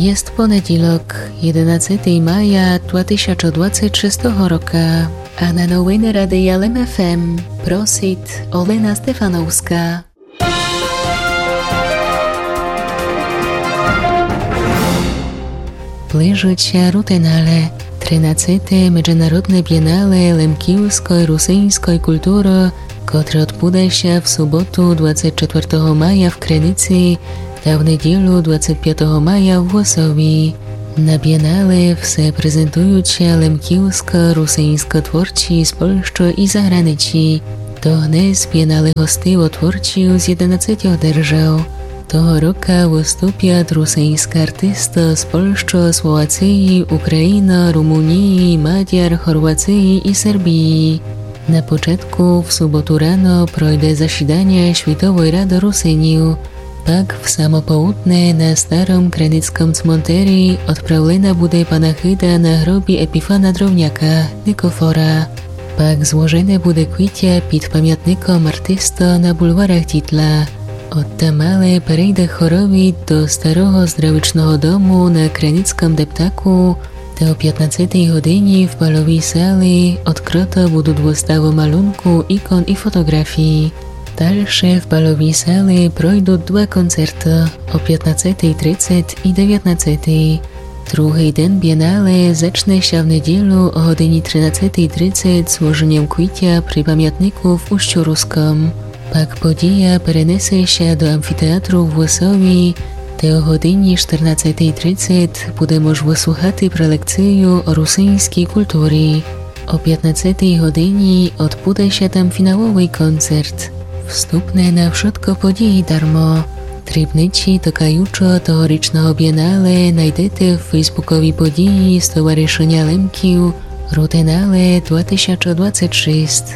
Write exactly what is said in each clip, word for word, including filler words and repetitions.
Єст понедїлок, єденадцетый мая два тисячы двадцет шестого рока, а на новины Радия Лем ФМ просит Олена Стефановска. Ближыт ся Рутенале, тринадцете меджинародне бєнале лемківской русиньской культуры, котре одбуде ся в суботу двадцет четвертого мая в Криници та в недїлю двадцет пятого мая в Вусови. На бєнале все презентуют ся лемківска, русиньска творці з Польщы і заграничі. Догнес бєнале гостив од творців з єденадцетьох держав. Того рока выступят русиньска артиста з Польщы, Словациі, Україна, Румунії, Мадяр, Хорвациі і Сербії. На початку в суботу рано пройде засіданя Світовой рады Русинів. Пак в само поудне на старым криницкым цмонтері одправлена буде панахида на гробі Епіфана Дровняка, Никофора. Пак зложене буде квітя під памятником артиста на бульварах Дітла. Одтамале перейде хоровід до старого здравічного дому на Криницкым дептаку, де о пятнадцетый годині в бальовій сали одкрыто будут выставы малюнку, ікон і фотоґрафій. Дальше в бальовій сали пройдут два концерты о пятнадцетый трицет і девятнадцетый. Другый ден бєнале зачне ся в недїлю о годині тринадцетый трицет зложеньом квітя при памятнику в Устю Руском. Пак подїя перенесе ся до амфітеатру в Вусови, де о годині штырнадцетый трицет буде мож выслухати прелекцию о русиньскій культурі. О пятнадцетый годині одбуде ся там фіналовый концерт. Вступне на вшытко подїї дармо. Дрібничі токаючого тогорічного бєнале найдете в фейсбуковій подїї Стоваришыня Лемків Рутенале два тисячы двадцет шість.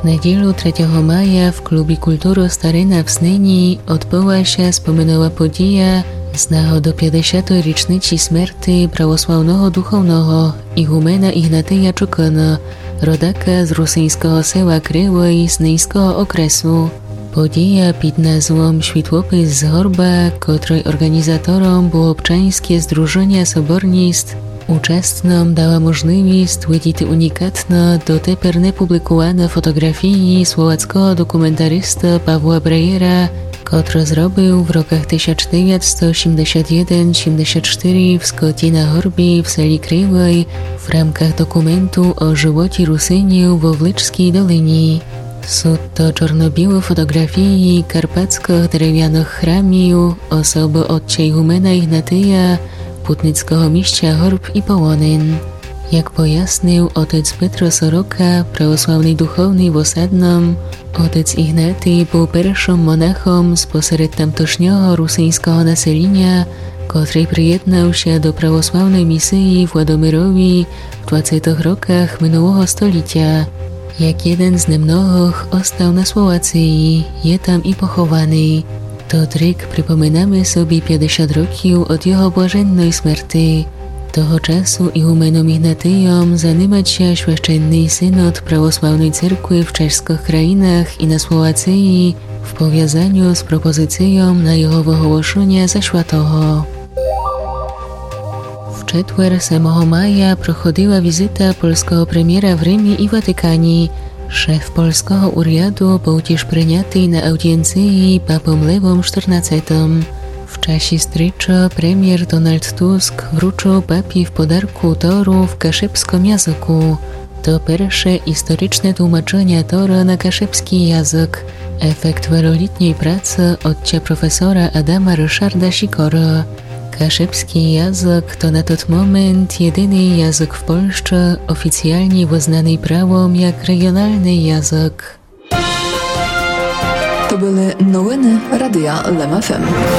В недїлю третього мая в клубі культуры Старина в Снині одбыла ся споминова подїя з нагоды пятдесятой річничі смерти православного духовного ігумена Ігнатия Чокыны, родака з русиньского села Кривый Сниньского окресу. Подїя під назвом Світлопис з горба, котрой орґанізатором было обчаньске здружыня Соборніст, участным дала можливіст видїти унікатно дотепер непублікуваны фотоґрафії словацького документариста Павла Брейера, котры зробив в роках тисяч девятсто сімдесят єден сімдесят штыри в скоті на горбі в селі Кривый в рамках документу о животі русинів во Вличскій долині. Сут то чорно-білы фотоґрафії карпатскых деревяных храмів, особы отця ігумена Ігнатия, путницкого місця горб і полонин. Як пояснив отець Петро Сорока, православный духовный в Осадным, отець Ігнатий быв першым монахом спосеред тамтошнього русиньского населіня, котрый приєднав ся до православной місиї в Ладомирові в двадцетых роках минулого столітя. Як єден з немногых остав на Словациї, є там і похованый. Тот рік припоминаме собі пятдесят років од його блаженной смерти. Того часу ігуменом Ігнатийом занимать ся Священный синод православной церкви в чеськых країнах і на Словациї в повязаню з пропозицийом на його выголошыня за святого. В четвер, семого мая, проходила візита польского премєра в Римі і Ватикані. Шеф польского уряду быв тіж принятый на аудієнциї папом Левом штырнадцетым. В часі стрічы премєр Дональд Туск вручыл папі в подарку Тору в кашыбскым языку. То перше історичне тлумачыня Торы на кашыбскій язык. Ефект велолітньой праци отця професора Адама Рышарда Сікоры. Кашыбскій язык то на тот момент єдиный язык в Польщы, офіціалні вызнаный правом як реґіоналный язык. То были новины Радия Лем ФМ.